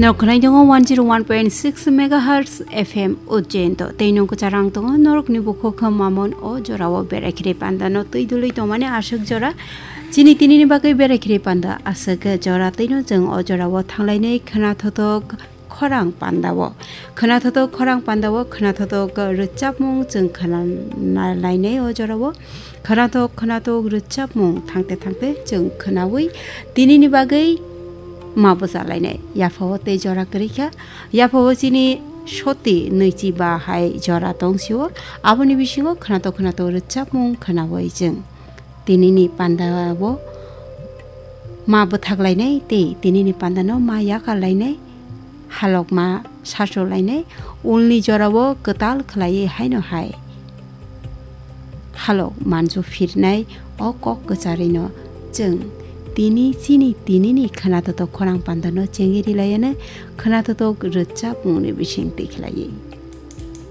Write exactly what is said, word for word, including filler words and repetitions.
Norok khwnai tongo one zero one point six megahertz F M Ujjain to. Tei nung kwcharang tongo norokni bukhuk mamon o jorao berai khiri panda no twi dului tongmani aswk jora. Chini tinini bagwi berai khiri panda aswk jora tei no chwng o jorao thanglainai khwnathotok khorang pandao. Khwnathotok khorang pandao khwnathotok rwchapmung chwng khwnalainai o jorao. Khwnathok khwnathok rwchapmung thangte thangte chwng khwnawi tinini bagwi ma bwchalainai. Yaphao tei jora kwrwi kha. Yaphao chini soti nwichi ba hai jora tong sio. Aboni bisingo khwnathok khwnathok rwchapmung khwnawi chwng tinini pandao ma bwthaklainai tei tinini pandano ma yakarlainai. Halokma sacholainai, ulni jorao kwtal khlaiwi haino hai halok manju phirnai o kok kwcharwino chwng tini chini tinini khwnathok khorang pandano chengwi rilaiyano khwnathok rwchapmungni bising twi khlaiwi.